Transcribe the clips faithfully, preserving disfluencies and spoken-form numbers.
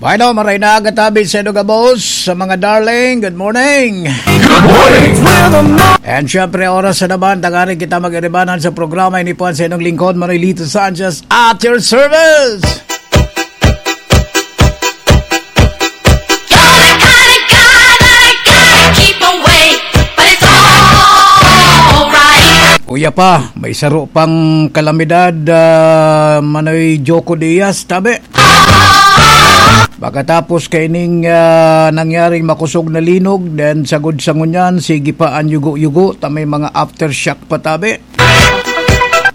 Bueno, maray na aga tabi sa inyo gabos, sa mga darling. Good morning. Good morning. And syempre, oras na naman, tanganing kita mag-iribanan sa programa, ini po ang sa inyong lingkod, Manolito Sanchez, at your service. You're the kind of guy that I gotta keep away, but it's alright. Uya pa, may saro pang kalamidad, ah, Manoy Joko Diaz, tabi. Pagkatapos kaining, ah, nangyaring makosog na linog, then sagod sa ngunyan, sige pa an yugo-yugo, ta may mga aftershock pa tabi.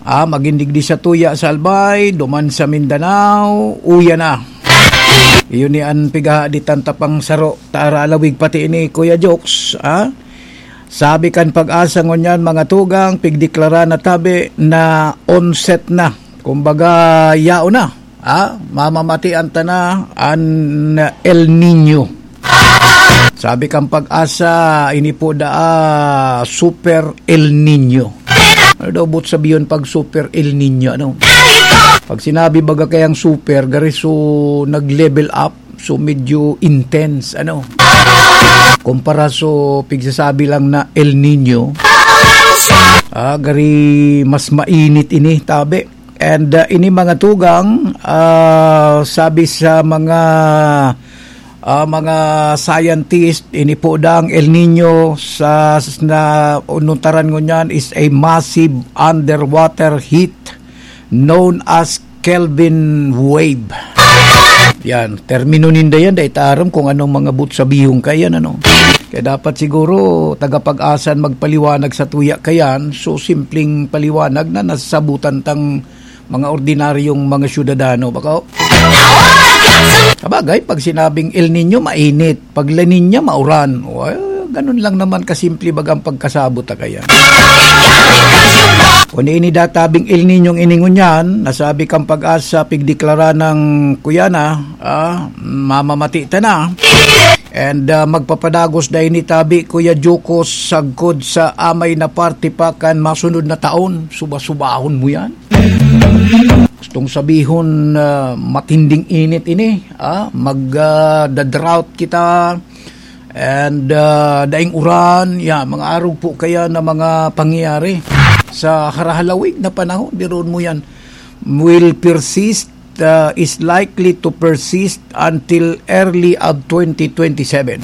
Ah, magin digdi sa tuya sa Albay, duman sa Mindanao, uya na. Iyo ni an pigahaditan ta pang saro, ta aralawig pati ini, Kuya Jokes, ah. Sabi kan Pag-asa ngunyan, mga tugang, pigdeklara na tabi na onset na. Kumbaga, yaon na. Ah, mamamatian ta na an El Niño. Sabi kan Pag-asa, ini po daa Super El Niño. Ano daw buot sabihon pag Super El Niño, ano? Pag sinabi baga kayang super, gari so nag-level up, so medyo intense, ano? Kumpara so pigsasabi lang na El Niño, ah, gari mas mainit ini, tabi. And, ah, ini mga tugang, ah, sabi sa mga, ah, mga scientist, ini po dang El Niño sa, na ununtaran ngunyan is a massive underwater heat known as Kelvin wave. Yan, termino ninda yan, dai ta aram kung anong mga buot sabihon kaiyan, ano. Kaya dapat siguro, tagapag-asa an magpaliwanag sa tuya kaiyan, so simpleng paliwanag na nasasabutan tang mga ordinaryong mga syudadano, bako? Sabagay, pag sinabing El Niño, mainit. Pag La Niña, mauran. Well, ganun lang naman kasimple baga ang pagkasabot ta kaiyan. Kung ini databing El Niño ini ngunyan, nasabi kan Pag-asa, pigdeklara ng kuya na, ah, mamamati ta na. And, ah, magpapadagos dai ni tabi, Kuya Jokes, sagkod sa amay na parte pa kan masunod na taon. Suba-subahon mo yan. Gustong sabihon, ah, matinding init ini, ah, mag, ah, da-drought kita, and, ah, daing uran, ya, mga arog po kaya na mga pangyayari sa harahalawig na panahon, diroon mo yan, will persist, ah, is likely to persist until early of twenty twenty-seven.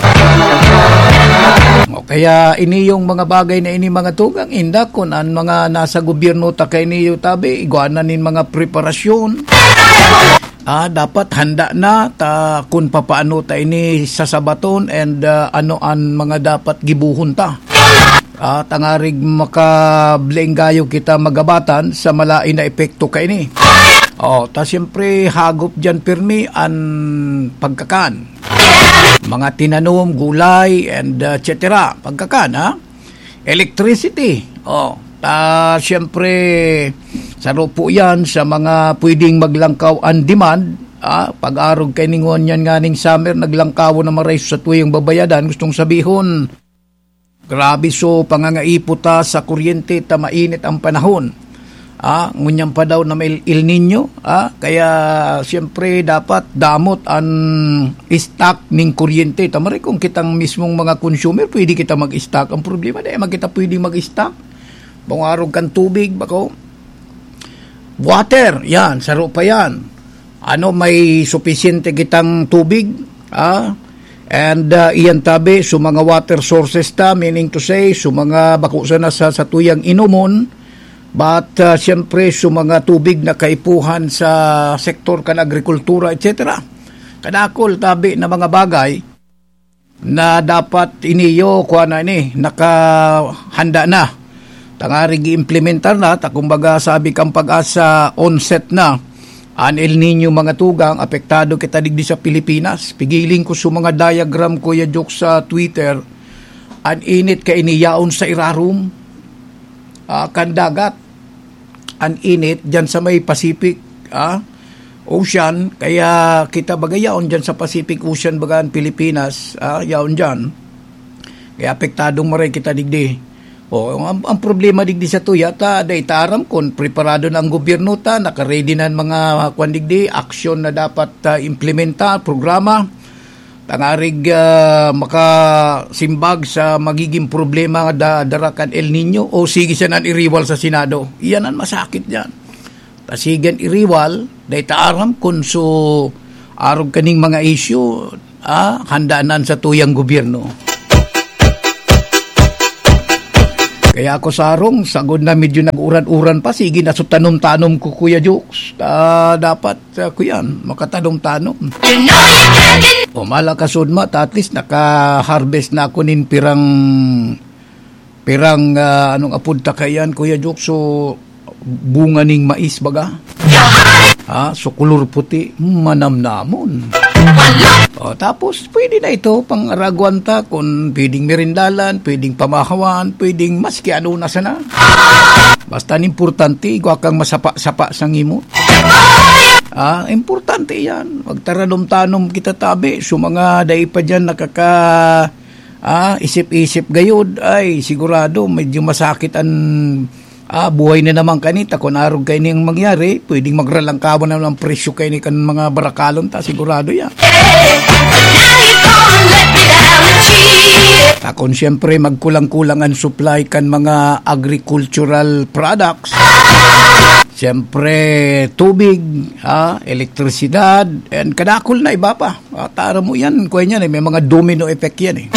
O kaya ini yung mga bagay na ini, mga tugang, inda kun an mga nasa gobyerno ta kaini tabi, igwa na nin mga preparasyon. Ah, dapat handa na ta kun papaano ta ini sasabaton and, ah, ano an mga dapat gibohon ta. Ah, tangarig makablaing gayo kita magabatan sa malain na epekto kaini. Oh, ta siyempre, hagop diyan pirmi an pagkakan. Mga tinanom, gulay, and, ah, et cetera. Pagkakan, ha? Electricity. Oh, ta siyempre, saro po yan sa mga pwedeng maglangkaw ang demand. Ah, pag-arog kay ningon yan nga ning summer, naglangkaw na maray sa tuyang babayadan. Gustong sabihon, grabe so pangangaipo ta sa kuryente ta mainit ang panahon. Ah, ngunyan pa daw na may El Niño, ah, kaya siyempre dapat damot an stock ning kuryente. Ta maray kung kitang mismong mga consumer, pwede kita mag-stock. Ang problema, di man kita pwede mag-stock. Bangarog kan tubig, bako. Water, yan, saro pa yan. Ano, may supisyente kitang tubig, ah? And, ah, iyan tabi, so mga water sources ta, meaning to say, so mga bako sana sa, sa tuyang inomon, but, ah, siyempre, so mga tubig na kaipuhan sa sektor kan agrikultura, et cetera. Kadakol tabi na mga bagay na dapat iniyo, kuha na ini, nakahanda na. Tangarig i-implementar na, ta kumbaga sabi kan Pag-asa, onset na. An El Niño, mga tugang, apektado kita digdi sa Pilipinas. Pigiling ko sa mga diagram, Kuya Jok, sa Twitter. An init kaini yaon sa irarom, ah, kan dagat. An init diyan sa may Pacific, ah, Ocean. Kaya kita baga yaon diyan sa Pacific Ocean, baga an Pilipinas, ah, yaon diyan. Kaya apektadong maray kita digdi. O, ang, ang problema digdi sa tuya, ta, dai ta aram kun preparado na ang gobyerno ta, naka-ready na ang mga, kwan digdi, aksyon na dapat, ah, implementar, programa. Tangarig, ah, makasimbag sa magiging problema da, dara kan El Niño o sige siya nan iriwal sa Senado. Iyan ang masakit diyan. Ta sige an iriwal, dai ta aram kun so arog kaning mga isyu, ah, handaan sa tuyang gobyerno. Kaya ako sarong, sagod na medyo nag-uran-uran pa, sige na so tanom-tanom ko, Kuya Jokes. Ah, dapat, ah, kuyan, makatanom-tanom. O mala kasudma, ta at least naka-harvest na ako nin pirang, pirang, ah, anong apod ta kaiyan, Kuya Jokes? So, bunga ning mais, baga? Ha? So, kulor puti, manamnamon. O, tapos, pwede na ito, pang-araguan ta, kung pwedeng merindalan, pwedeng pamahawan, pwedeng maski ano na sana. Basta ang importante, igwa kang masapa-sapa sa ngimot. Ah, importante yan. Magtaradom-tanom kita tabi. So, mga dai pa dyan nakaka, ah, isip-isip gayod, ay, sigurado, medyo masakit ang, ah, buhay na naman kanita. Kung arog kayo niyang mangyari, pwedeng magralangkawan na lang presyo kayo ni kan mga barakalon ta, sigurado yan. Akon, siyempre, magkulang-kulang ang supply kan mga agricultural products. Siyempre, tubig, ha, elektrisidad, and kadakol na iba pa. Ah, tara mo yan, kuya niyan eh, may mga domino effect yan eh.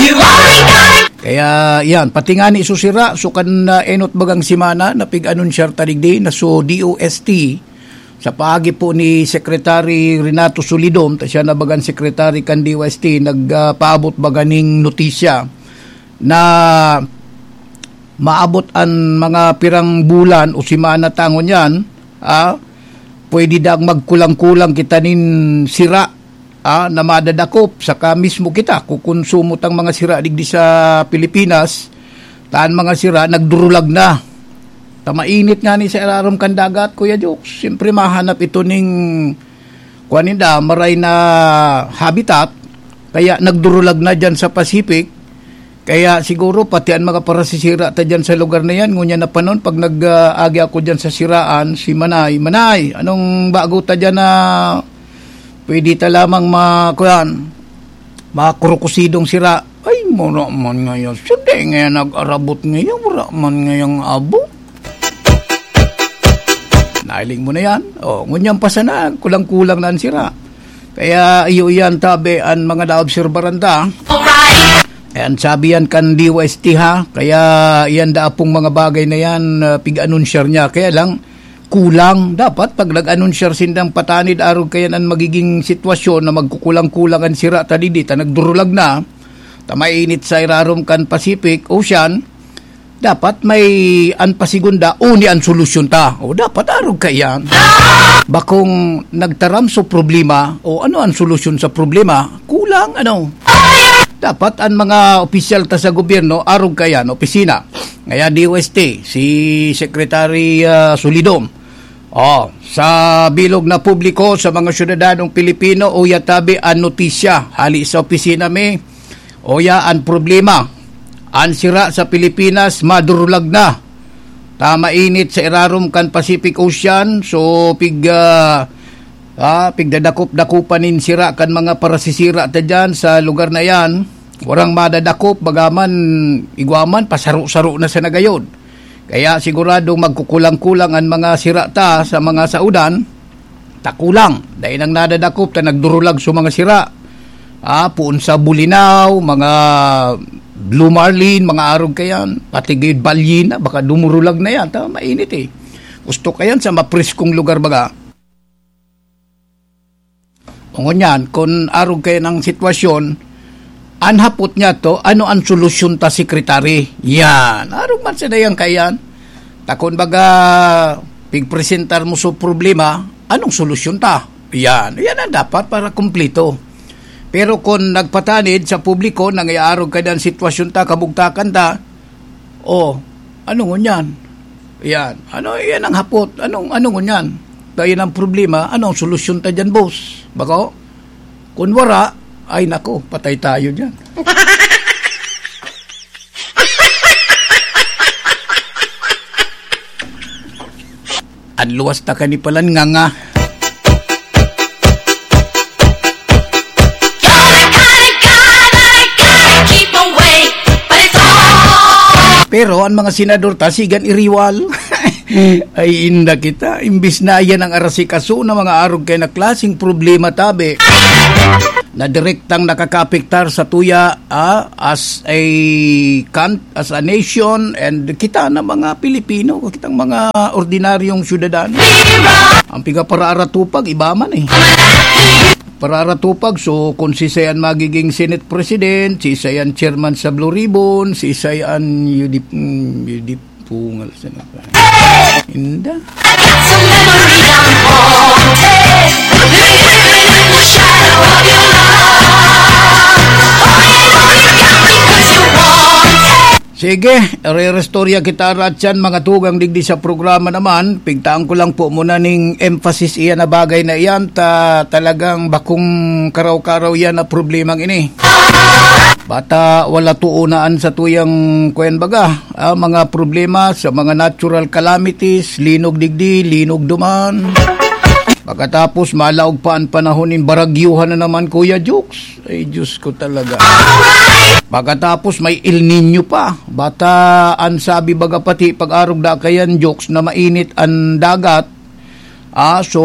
Kaya yan, pati nga ni susira, so kan, ah, enot bagang semana, napig-anunsyar ta digdi na so D O S T, sa paagi po ni Secretary Renato Solidom, ta siya na bagang secretary kan D O S T, nagpaabot baga ning notisya na maabot an mga pirang bulan o semana tangon yan, ah, pwede daang magkulang-kulang kita nin sira, ah, na madadakop, saka mismo kita kukonsumo tang mga sira digdi sa Pilipinas, ta an mga sira nagdurulag na. Ta mainit nga ni sa irarom kan dagat, Kuya Jokes. Siyempre, mahanap ito ning, kuwan ninda, maray na habitat, kaya nagdurulag na dyan sa Pacific. Kaya siguro, pati ang mga parasisira ta dyan sa lugar na yan, ngunyan na panon, pag nag-, ah, agi ako dyan sa siraan, si Manay, "Manay, anong bago ta dyan na pwede ta lamang ma-, kuwan, makurukusidong sira?" Ay, mura man ngayon. Siyempre, ngayon nag-arabot ngayon, wala man ngayong abo. Nailing mo na yan. O, ngunyan pa sana, kulang-kulang na ang sira. Kaya iyo yan, tabi, ang mga naobserbaran ta. Ayan, sabi yan kan D O S T ha. Kaya yan daapong mga bagay na yan, ah, pig-anunsyar niya. Kaya lang, kulang. Dapat pag nag-anunsyar sindang patanid, arog kayan ang magiging sitwasyon na magkukulang-kulang ang sira ta didi, ta nagdurulag na, ta mainit sa irarom kan Pacific Ocean, dapat may an pasigunda, uni an solusyon ta. O dapat arog kayan. Bakong nagtaram so problema, o ano ang solusyon sa problema? Kulang, ano? Dapat ang mga opisyal ta sa gobyerno, arog kayan, opisina. Ngaya D O S T, si Secretary, ah, Solidom. Oh, sa bilog na publiko, sa mga syudadanong Pilipino, uya tabi an notisya hali sa opisina mi. Uya an problema. An sira sa Pilipinas, madurulag na. Ta mainit sa irarom kan Pacific Ocean, so pig, ah, ah, pigdadakop-dakopan nin sira kan mga parasisira ta dyan sa lugar na yan. Warang madadakop, bagaman, igwa man, pasaro-saro na sa nagayod. Kaya siguradong magkukulang-kulang an mga sira ta sa mga saodan, ta kulang. Dai nang nadadakop ta nagdurulag so mga sira. Ah, poon sa bulinaw, mga blue marlin, mga arog kayan, pati gayud balyena, baka dumurulag na yan, ta mainit eh. Gusto kayan sa mapreskong lugar baga. Ngunyan, kun arog kayan ang sitwasyon, an hapot niya to, ano ang solusyon ta, Secretary? Yan. Arog man sa dayang kayan. Ta kun baga, pigpresentar mo so problema, anong solusyon ta? Yan. Yan ang dapat para kumplito. Pero kun nagpatanid sa publiko, nangyayarog ka na ang sitwasyon ta, kabugtakan ta, oh, ano ngunyan? Yan. Ano, yan ang hapot. Anong, ano ngunyan? Dahil ang problema, anong solusyon ta dyan, boss? Bako? Kun wara, ay nako, patay tayo dyan. Luwas ta kani palan nga nga. You're the kind of guy that I gotta, gotta keep away, but it's all Pero ang mga senador ta, sigan iriwal. Ay, inda kita. Imbis na yan ang arasikaso na mga arog kay na klaseng problema, tabi. Na direktang nakakapektar sa tuya, ah, as a country, as a nation, and kita na mga Pilipino, kitang mga ordinaryong syudadano. Ang piga para aratupag, iba man eh. Para aratupag, so kung si Sayan magiging Senate President, si Sayan Chairman sa Blue Ribbon, si Sayan U D P, mm, U D P, pungal sa nagpa. Inda. Some memories I'm haunted, living in the shadow of your love. Holding on, you got me 'cause you want it. Sige, re-restorya kita, Ratchan, mga tugang digdi sa programa naman. Pigtaan ko lang po muna ning emphasis iyan na bagay na iyan, ta talagang bakong karaw-karaw yan na problemang ini. Bata, wala tuunaan sa tuyang, kuyan baga, ah, mga problema sa mga natural calamities, linog digdi, linog duman. Pagkatapos, malaog pa ang panahon nin baragyuhan na naman, Kuya Jokes. Ay, Diyos ko talaga. Pagkatapos, may El Niño pa. Bata, ang sabi baga pati pag-arog da kayan, Jokes, na mainit ang dagat. Ah, so,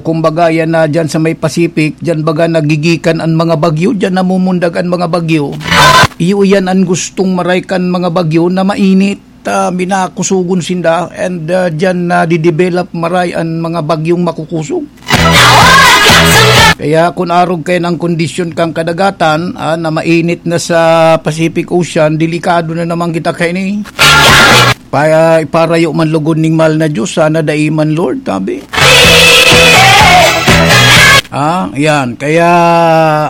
kumbaga, yan na dyan sa may Pacific, dyan baga nagigikan ang mga bagyo, dyan namumundag ang mga bagyo. Iyo yan ang gustong maray kan mga bagyo na mainit, ah, minakusugon sinda, and, ah, dyan nadidevelop maray ang mga bagyong makukusog. Kaya kun arog kayan ang kondisyon kan kadagatan, ah, na mainit na sa Pacific Ocean, delikado na naman kita kaini. Pa, iparayo man lugod ning mahal na Diyos, sana dai man, Lord, tabi. Ah, yan. Kaya,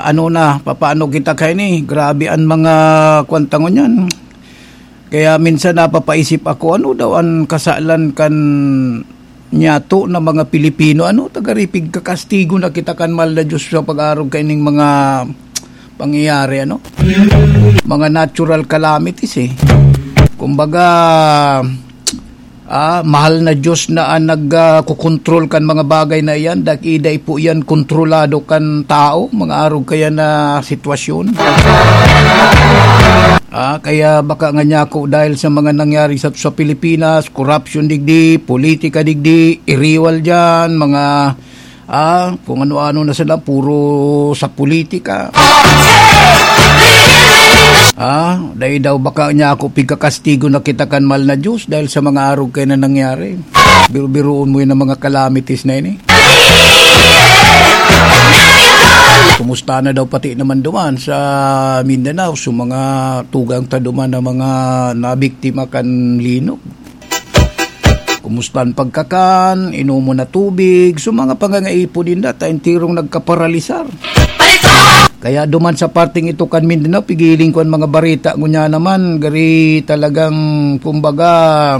ano na, papaano kita kaini? Grabe ang mga kwan ta ngunyan. Kaya minsan napapaisip ako, ano daw ang kasalan kan nyato na mga Pilipino? Ano, tagaripig kakastigo na kita kan mahal na Diyos sa pag-arog kaining mga pangyayari, ano? Mga natural calamities, eh. Kumbaga, ah, mahal na Diyos na ang nag, ah, kukontrol kan mga bagay na iyan, dai po iyan kontrolado kan tao, mga arog kaya na sitwasyon. Ah, kaya baka nga niya ako dahil sa mga nangyari sa, sa Pilipinas, corruption digdi, politika digdi, iriwal diyan, mga, ah, kung ano-ano na sila, puro sa politika. Ah, dai daw baka niya ako pigkakastigo na kita kan mahal na Diyos dahil sa mga arog kaya na nangyari. Biro-biroon mo yun ang mga calamities na ini. Kumusta na daw pati naman duman sa Mindanao, sa mga tugang ta duman na mga nabiktima kan linog? Kumusta ang pagkakan, inomon na tubig, so mga pangangaipo ninda, ta enterong nagkaparalisar. Kaya duman sa parteng ito kan Mindanao, pigiling ko ang mga bareta, ngunya naman, gari talagang, kumbaga,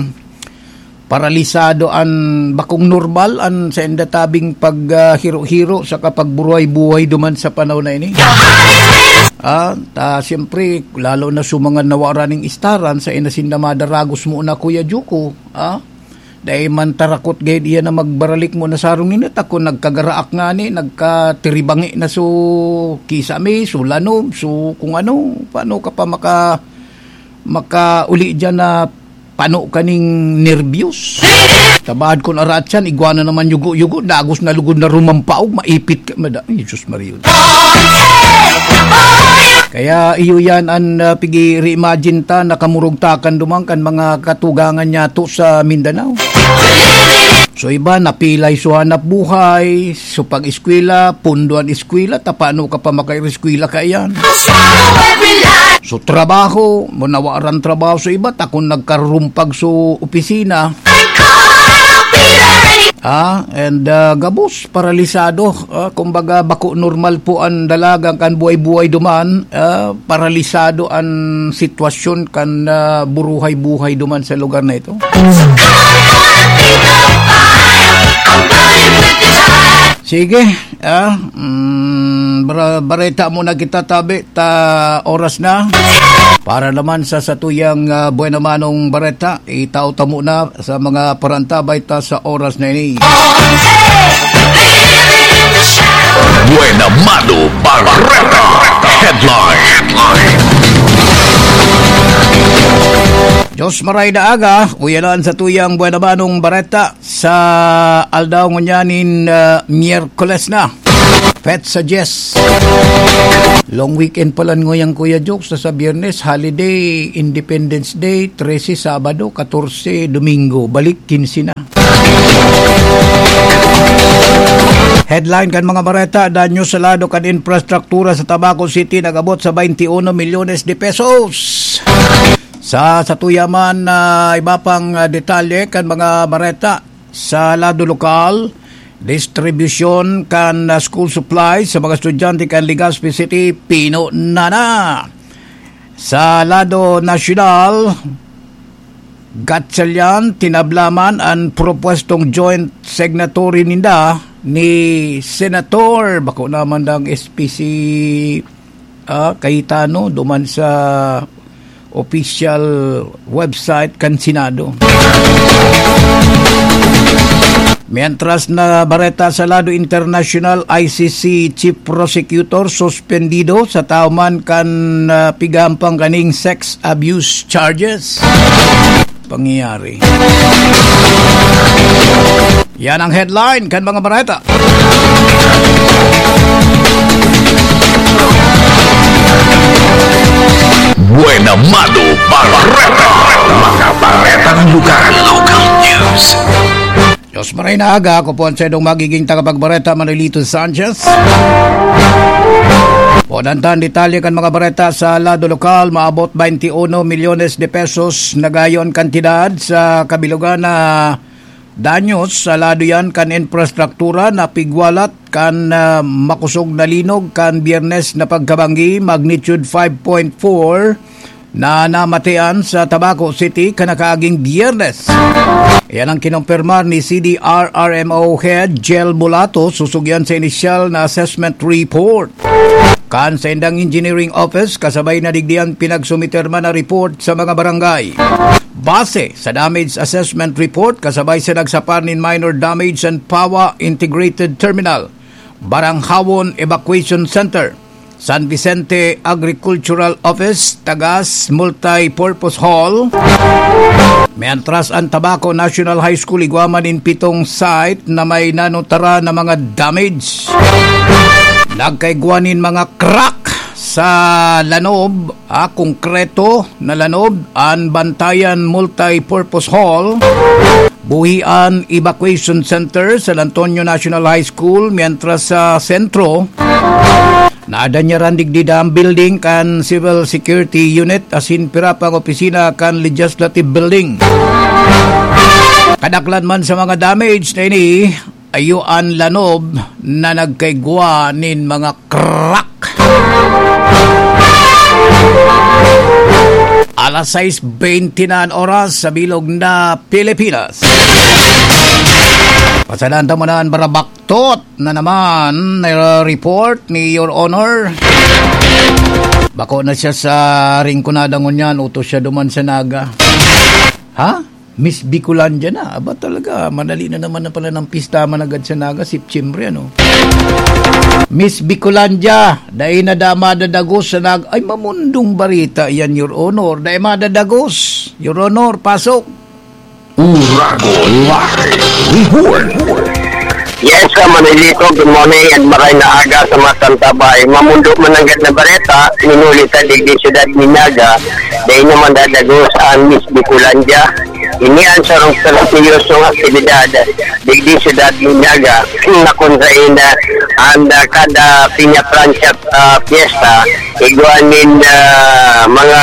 paralisado an bakong normal an sainda tabing pag, ah, hiro-hiro saka pagburuhay-buhay duman sa panahon na ini. Ah, ta, siyempre, lalo na sa mga nawara ning istaran, sa inasin na madaragos mo na, Kuya Juko, ah, dai man tarakot gayud iyan na magbaralik mo na sarong ninit. Ako nagkagaraak nga ni, nagkatiribangi na so kisame, so lanom, so kung ano, paano ka pa maka-, makauli diyan na pano kaning nerbyos. Tabad kun aratsan, igwa na naman yugo-yugo, dagos na lugod na rumampaog, maipit ka, mada-, ay, Jesus Maria. Kaya iyo yan an, ah, pigi-reimagine ta, nakamurog ta kan duman kan mga katugangan niyato sa Mindanao. So iba, napilay so hanap buhay, so pag-eskwela, pundo an eskwela, ta paano ka pa makaeskwela kaiyan? So trabaho, mo nawaran trabaho so iba, ta kun nagkarurumpag so opisina. Ah, and, ah, gabos, paralisado. Ah, kumbaga, bako normal po ang dalaga kan buhay-buhay duman. Ah, paralisado ang sitwasyon kan, ah, buruhay-buhay duman sa lugar na ito. Sige, ah, mm, bara-, bareta muna kita, tabi, ta oras na. Para naman sa satuyang, ah, buena manong bareta, itao ta muna sa mga parantabay ta sa oras na ini. Buena Mano Bareta Headline. Diyos maray na aga, uyanan sa tuyang buena manong bareta sa aldaw ngunyan nin, ah, Miyerkules na. Petsa dyes. Long weekend pala nguyang, Kuya Jokes, sa, sa Biyernes, holiday, Independence Day, trese, Sabado, katorse, Domingo. Balik, kinse na. Headline kan mga bareta, danyo sa lado kan infrastruktura sa Tabaco City nag-abot sa twenty-uno milyones de pesos. Sa, sa tuya man na iba pang, ah, detalye kan mga bareta sa lado lokal, distribusyon kan, ah, school supplies sa mga estudyante kan Legazpi City, pino na na. Sa lado nasyonal, Gatchalian, tinabla man an propwestong joint signatory ninda ni Senator, bako naman dang S P C, ah, Cayetano, duman sa official website kan Senado. Mientras na bareta sa lado internasyonal, I C C Chief Prosecutor suspendido sa tawo man kan, ah, pigahampang kaning sex abuse charges. Pangyayari. Yan ang headline kan mga bareta. Buena Mano Bareta. Mga baretang lokal. Local news. Diyos maray na aga, ako po ang saindong magiging tagapagbareta, Manolito Sanchez. Podan ta an detalye kan mga bareta sa lado lokal, maabot twenty-uno milyones de pesos na gayon kantidad sa kabilugan na danyos sa lado yan kan infrastruktura na pigwalat kan, ah, makosog na linog kan Biyernes na pagkabanggi, magnitude five point four, na namatian sa Tabaco City kan nakaaging Biyernes. Iyan ang kinumpirmar ni C D R R M O Head Jel Bulato, susugyan sa inisyal na assessment report kan saindang engineering office, kasabay na digdi an pinagsumiter man na report sa mga barangay. Base sa damage assessment report, kasabay sa nagsapar nin minor damage an Pawa Integrated Terminal, Baranghawon Evacuation Center, San Vicente Agricultural Office, Tagas Multi-Purpose Hall. Mientras an Tabaco National High School igwa man nin pitong site na may nanutara na mga damage. Nagkaigwa nin mga crack sa lanob, ah, konkreto na lanob, an Bantayan Multi-Purpose Hall, Buhian Evacuation Center, San Antonio National High School, mientras sa sentro, nadanyaran digdi an building kan Civil Security Unit asin pira pang opisina kan Legislative Building. Kadaklan man sa mga damage na ini, iyo an lanob na nagkaigwa nin mga crack. Alas sais bente na an oras sa bilog na Pilipinas. Pasadahan ta muna an barabaktot na naman na report ni Your Honor. Bako na siya sa Rinconada ngunyan, utos siya duman sa Naga. Ha? Miss Bicolandia na. Aba talaga, madali na naman na pala ng pista managad sa Naga, September, ano? Miss Bicolandia, dai na da madadagos sa Naga. Ay, mamundong barita yan, Your Honor. Dai madadagos. Your Honor, pasok. Urago Live Report. Yes, uh, Manolito, good morning and maray na aga sa mga santabay. Mamundo mananggad na bareta, minuli ta digdi siyudad ni Naga, dai naman dadagos ang Miss Bicolandia. Ini ang sarong seryoso nga aktibidad digdi siyudad ni Naga, na kung sain, ah, ang, ah, kada Piña Francia, ah, fiesta, igwa nin, ah, mga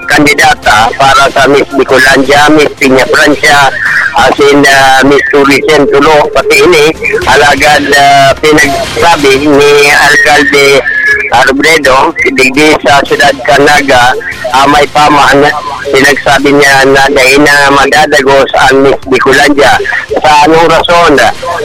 kandidata para sa Miss Bicolandia, Miss Piña Francia, asin, ah, Miss Tourism Tulo, pati ini, alagad, ah, pinagsabi ni Alcalde Robredo, digdi sa siyudad kan Naga, Amay pa man, pinagsabi niya na dai na madadagos ang Miss Bicolandia. Sa anong rason?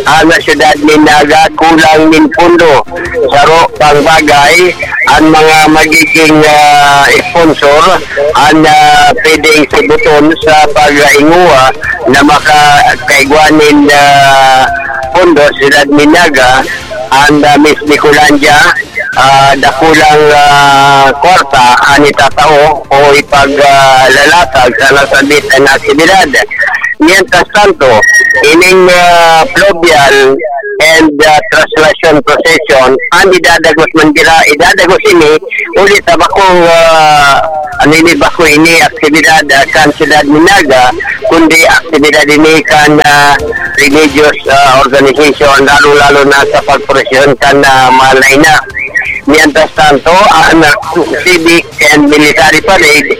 Ang syudad nin Naga kulang nin pondo. Saro pang bagay, ang mga magiging, ah, sponsor, ang, ah, pwedeng sibuton sa paghinguha na makakaigwa nin, ah, pondo sa syudad nin Naga, ang, ah, Miss Bicolandia, ah, dakulang, ah, kwarta an itatao o ipag, ah, lalatag sa nasambit na aktibidad. Mientras tanto, ining, ah, fluvial and, ah, translation procession, an idadagos man dira, idadagos ini, ulit sa bakong, ah, ano ini, bako ini, aktibidad, ah, kan syudad ni Naga, kundi aktibidad ini kan, ah, religious, ah, organization, lalo-lalo na sa pagprosesyon kan, ah, Mahal na Ina. Mientras tanto, ang civic and military parade,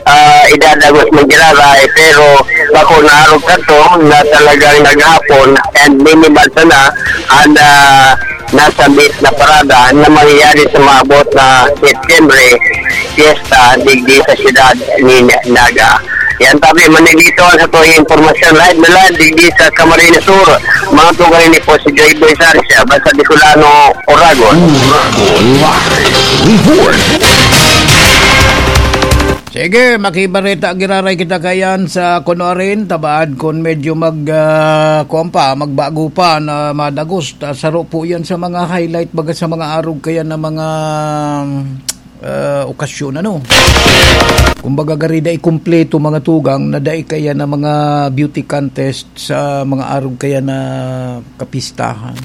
ah, idadagos man giraray, pero bako na arog kato na talagang naghapon and minimal sana ang, ah, nasambit na parada na mangyayari sa maabot na Setyembre, piyesta digdi sa siyudad nin Naga. Yan tabi, manigito ang sa tuwing impormasyon. Live na live, digdi sa Camarines Sur. Mga tugang ini po si Joy Boy Sarsia, basta Bicolano, Oragon. Oragon Live Report. Sige, makibareta giraray kita kayan sa kuno rin, tabaad kun medyo mag, ah, kuwan pa, magbago pa na madagos. Ta-, saro po yan sa mga highlight, baga sa mga arog kaya na mga, ah, okasyon, ano. Kumbaga, gari dai kumpleto mga tugang na dai kaya na mga beauty contest sa mga arog kaya na kapistahan.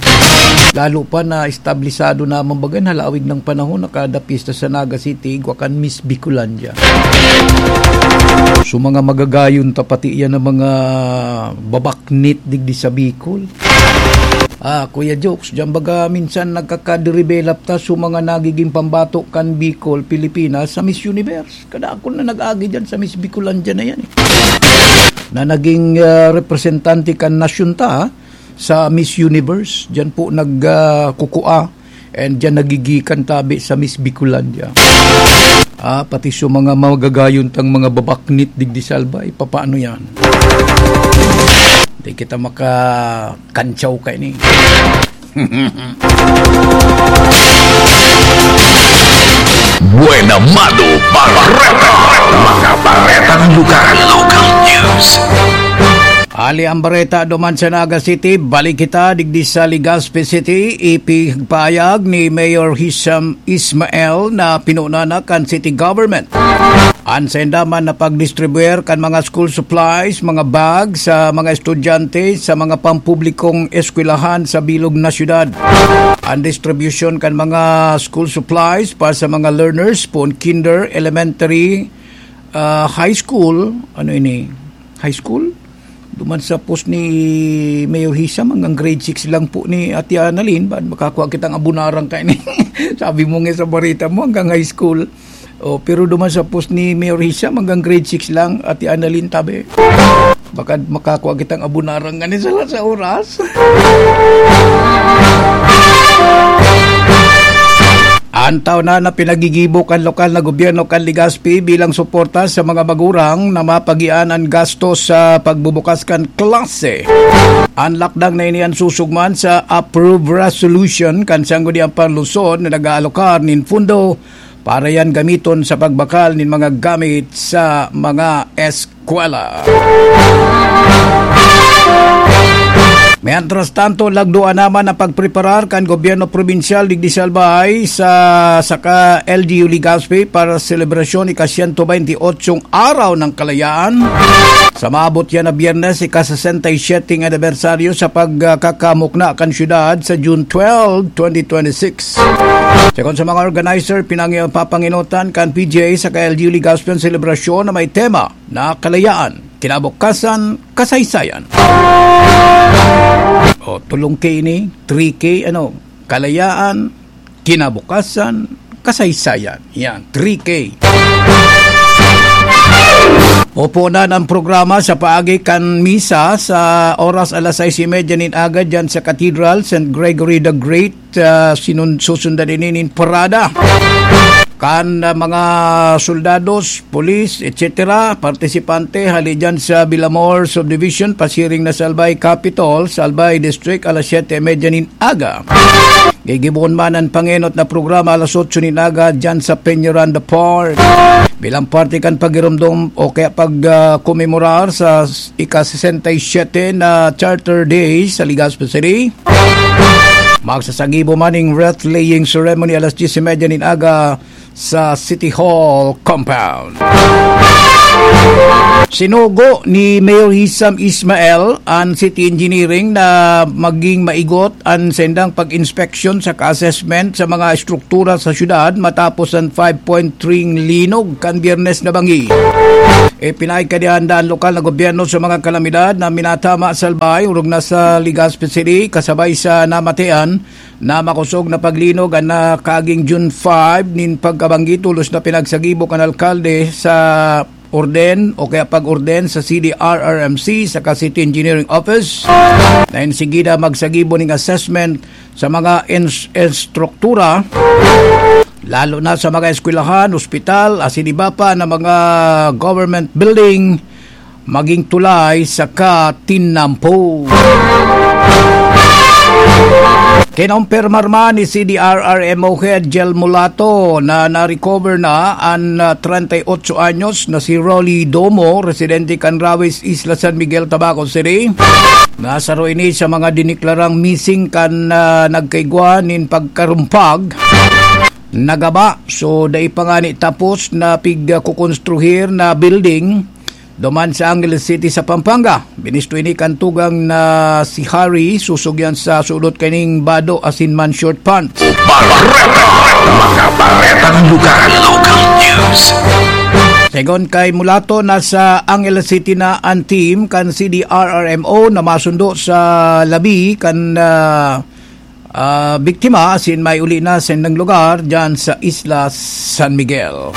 Lalo pa na establisado naman baga na halawig ng panahon na kada pista sa Naga City, igwa kan Miss Bicolandia. So, mga magagayon ta pati yan ang mga babaknit digdi sa Bicol. Ah, Kuya Jokes, diyan baga minsan nagkakadevelop ta sa mga nagiging pambato kan Bicol, Pilipinas sa Miss Universe. Kadakul na nag-agi diyan sa Miss Bicolandia na yan, eh. Na naging, ah, representante kan nasyon ta, ha, sa Miss Universe. Diyan po nag, ah, kukua. And diyan nagigikan tabi sa Miss Bicolandia. Ah, pati sa mga magagayon tang mga babaknit digdi sa Albay, papaano yan? Di kita makakantsaw kaini. Buena Mano Barreta. Mga baretang lugar. Local news. Ali ang bareta duman sa Naga City, balik kita digdi sa Legazpi City, ipigpahayag ni Mayor Hisham Ismael na pinuna na kan city government. An sainda man na pagdistribuer kan mga school supplies, mga bag sa mga estudyante sa mga pampublikong eskwelahan sa bilog na syudad. An distribusyon kan mga school supplies para sa mga learners poon kinder, elementary, ah, high school, ano ini? High school? Duman sa post ni Mayor Hisham, hanggang grade six lang po ni Ate Annalyn, baad makakua kitang abunarang kaini? Sabi mo nga sa bareta mo, hanggang high school. Oh, pero duman sa post ni Mayor Hisham, hanggang grade six lang, Ate Annalyn, tabi. Baka makakua kitang abunarang ngani sa, sa oras. An taon na, na pinagigibo kan lokal na gobyerno kan Legazpi bilang suporta sa mga magurang na mapagian an gastos sa pagbubukas kan klase. An lakdang na ini an susog man sa approved resolution kan Sangguniang Panlungsod na nag-aalokar nin pundo para yan gamiton sa pagbakal nin mga gamit sa mga eskwela. Mientras tanto, lagdoan naman ang pagpreparar kan gobyerno probinsyal digdi sa Albay sa saka L G U Legazpi para sa selebrasyon ika-siyento baynte otsong Araw ng Kalayaan. Sa maabot yan na Biyernes, ika-sesenta y siyete anibersaryo sa pagkakamukna kan syudad sa June twelve, twenty twenty-six. Sekon sa mga organizer, pinangi-, papangenotan kan P G A saka L G U Legazpi an selebrasyon na may tema na Kalayaan, Kinabukasan, Kasaysayan. O, tulong K ini, three K, ano, Kalayaan, Kinabukasan, Kasaysayan. Yan, three K. Pupunan ang programa sa paagi kan misa sa oras alas sais y media nin aga dyan sa Cathedral, Saint Gregory the Great. Ah, sinun-, susundan ini nin parada. Kan, ah, mga soldados, pulis, et cetera, partisipante, hali dyan sa Villamor Subdivision, pasiring na sa Albay Capitol, sa Albay District, alas siyete y media nin aga. Gigibohon man an pangenot na programa alas otso nin aga dyan sa Peñaranda Park. Bilang parte kan pagiromdom o kaya pag, ah, komemorar sa ika-sesenta y siyete na Charter Day sa Legazpi City, magsasagibo man ning wreath-laying ceremony alas diyes y media nin aga sa City Hall compound. Sinugo ni Mayor Hisam Ismail an City Engineering na maging maigot an sendang pag-inspeksyon saka assessment sa mga estruktura sa syudad matapos an five point three linog kan Biyernes na bangi. Ipinaig kadihanda an lokal na gobyerno sa mga kalamidad na minatama sa Albay, orog na sa Legazpi City, kasabay sa namatian na makosog na paglinog an nakaaging June five nin pagkabanggi, tolos na pinagsagibo kan alkalde sa orden o kaya pag-orden sa C D R R M C saka City Engineering Office na enseguida magsagibo ning assessment sa mga ins-, estruktura, lalo na sa mga eskwelahan, ospital, asin iba pa na mga government building, maging tulay saka tinampo. Kinompirmar man ni C D R R M O Head Jel Mulato na na-recover na an, ah, treinta y ocho anyos na si Rolly Domo, residente kan Rawis, Isla San Miguel, Tabaco City. Nasaro ini sa mga diniklarang missing kan, ah, nagkaigwa nin pagkarumpag na gaba. So, dai pa ngani tapos na pig-, ah, kukonstruhir na building duman sa Angeles City sa Pampanga. Binisto ini kan tugang na si Harry, susog yan sa sulot kaning bado asin man short pants. Bareta! Mga baretang lugar, local news. Segun kay Mulato, nasa Angeles City na an team kan C D R R M O na masundo sa labi kan, ah, ah, biktima asin may uli na sa indang lugar dyan sa Isla San Miguel.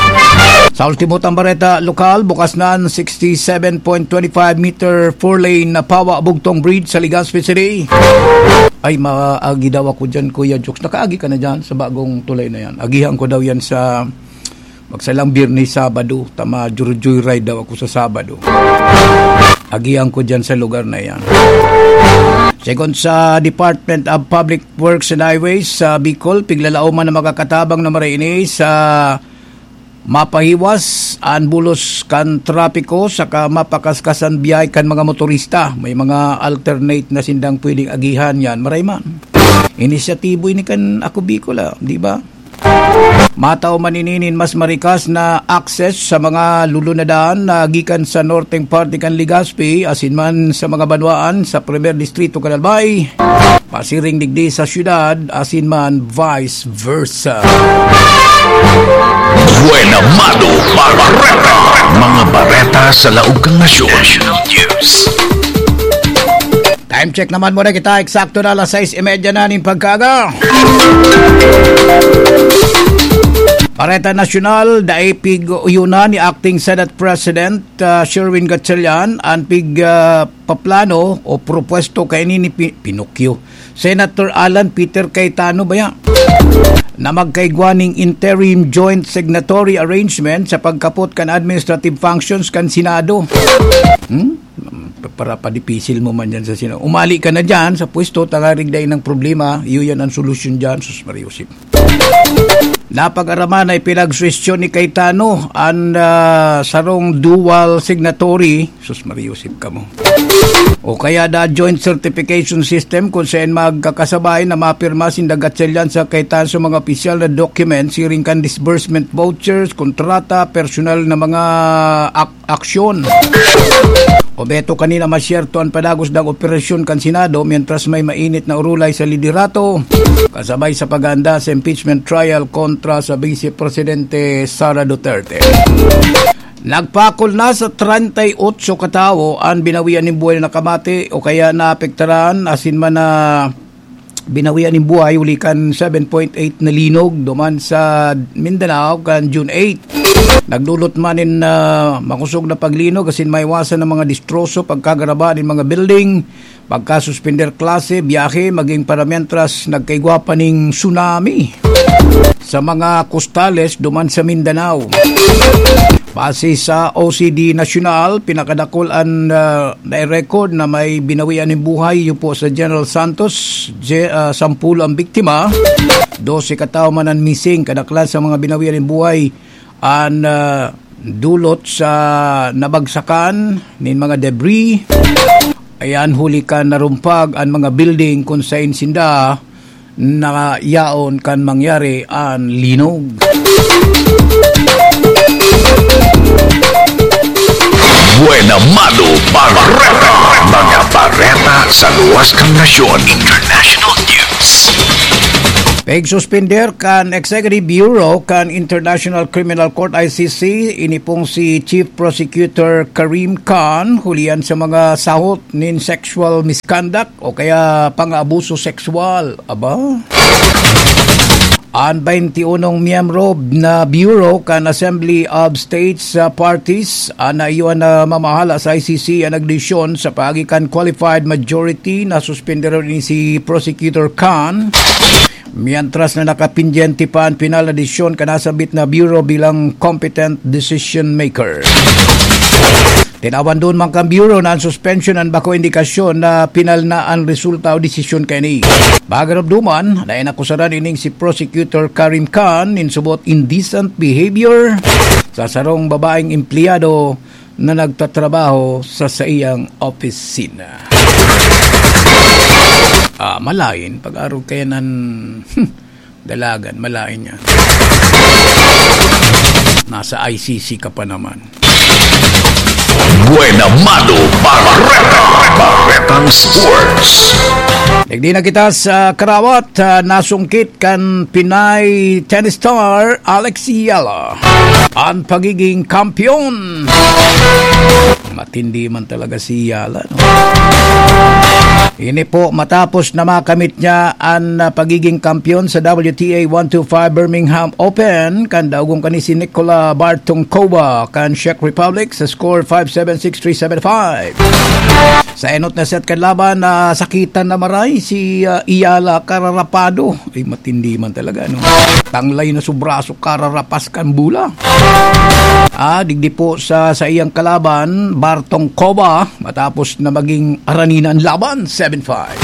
Sa ultimo tang bareta lokal, bukas na an sixty-seven point twenty-five meter four-lane na Pawa Bugtong Bridge sa Legazpi City. Ay, maagi daw ako dyan, Kuya Jokes. Nakaagi ka na dyan sa bagong tulay na yan. Agihan ko daw yan sa magsalang Biyernes, Sabado. Tama, joyride daw ako sa Sabado. Agihan ko dyan sa lugar na yan. Segun sa Department of Public Works and Highways sa Bicol, piglalaoman na makakatabang na maray ini sa mapahiwas an bulos kan trapiko saka mapakaskas an biyahe kan mga motorista. May mga alternate na sindang pwedeng agihan yan. Maray man. Inisyatibo ini kan Ako Bicol, ah, di ba? Matao man ini nin mas marikas na access sa mga lulunadan na gikan sa norteng parte kan Legazpi, asin man sa mga banwaan sa Primer Distrito kan Albay, pasiring digdi sa syudad, asin man vice versa. Buena Mano Bareta. Mga bareta sa laog kan nasyon. Time check naman muna kita. Eksakto na alas sais y media na nin pagkaaga. Bareta Nasyonal, dai pig-uyunan ni Acting Senate President, ah, Sherwin Gatchalian an pig, ah, paplano o propuesto kaini ni Pi-, Pinocchio, Senator Alan Peter Cayetano baya, na magkaigwa ning interim joint signatory arrangement sa pagkapot kan administrative functions kan Senado. Hmm? Para padipisil mo man dyan sa Senado. Umali ka na dyan sa pwesto, tangarig dai nang problema, iyo yan ang solusyon dyan, sus Maria Josep. Napag-araman na ipinagsuwestiyon ni Cayetano an, ah, sarong dual signatory, sus Maria Josep kamo. O kaya da joint certification system kung saan magkakasabay na mapirma sinda Gatchalian sa Cayetano sa mga opisyal na document siring kan disbursement vouchers, kontrata, personal na mga ak-, aksyon. Obeto kanina masyerto an padagos dang operasyon kan Senado mientras may mainit na urulay sa liderato, kasabay sa paghahanda sa impeachment trial kontra sa Vice Presidente Sara Duterte. Nagpakol na sa treinta y ocho katawo an binawian nin buhay na nakamate o kaya naapektaran asin man na binawian nin buhay huli kan seven point eight na linog duman sa Mindanao kan June eight. Nagdulot man nin, ah, makosog na paglinog asin maiwasan na mga destroso, pagkagaraba nin mga building, pagkasuspender klase, biyahe, maging para mientras nagkaigwa pa ning tsunami. sa mga kostales duman sa Mindanao. Base sa O C D National, pinakadakul an, ah, nai-record na may binawian nin buhay, iyo po sa General Santos, je-, ah, sampulo ang biktima, dose katawo man an missing. Kadaklan sa mga binawian nin buhay an, ah, dulot sa nabagsakan nin mga debris. Ayan, huli kan narumpag an mga building kun saen sinda na yaon kan mangyari an linog. Buena Mano Bareta. Mga bareta sa luwas kan nasyon. International News. Pagsuspender kan Executive Bureau kan International Criminal Court, I C C, ini pong si Chief Prosecutor Karim Khan, hulihan sa mga sahot nin sexual misconduct o kaya pang-abuso sexual. Aba? An twenty-unong miyembro na Bureau kan Assembly of States, ah, Parties, ah, na iyo an, ah, mamahala sa I C C an nagdesisyon sa paagi kan qualified majority na suspenderon ini si Prosecutor Khan, mientras na nakapendyente pa an pinal na desisyon kan nasambit na Bureau bilang competent decision maker. Tinawan duman kan Bureau na an suspension an bako indikasyon na pinal na an resulta o desisyon kaini. Pagaromdoman na inakusaran ining si Prosecutor Karim Khan nin subot indecent behavior sa sarong babaeng empleyado na nagtatrabaho sa saiyang opisina. Ah, malain, pag-arog kaya nan dalagan, malain niya. Nasa I C C ka pa naman. Buena Mano Bareta. Baretang Sports. Digdi na kita sa karawat, ah, nasungkit kan Pinay tennis star Alex Yala an pagiging kampiyon. Matindi man talaga si Yala, no? Ini po matapos na makamit niya an, ah, pagiging kampiyon sa W T A one two five Birmingham Open kan daogong kani si Nikola Bartonkova kan Czech Republic sa score five seven, six three, seven five. Sa enot na set kan laban, nasakitan na maray si, ah, Yala, kararapado. Ay, matindi man talaga, no? Tanglay na su braso, kararapas kan bola. Ah, digdi po sa, sa iyang kalaban, Bartonkova, matapos na maging aranina an laban, seven five.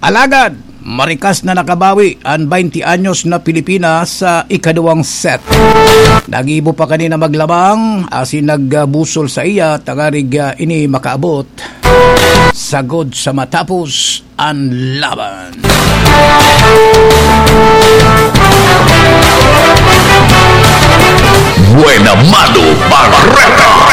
Alagad, marikas na nakabawi an twenty anyos na Pilipina sa ikaduwang set. Nagibo pa kanina maglabang, asin nagbusol sa iya, tangarig, ah, ini makaabot sagod sa matapos an laban. Buena Mano Bareta.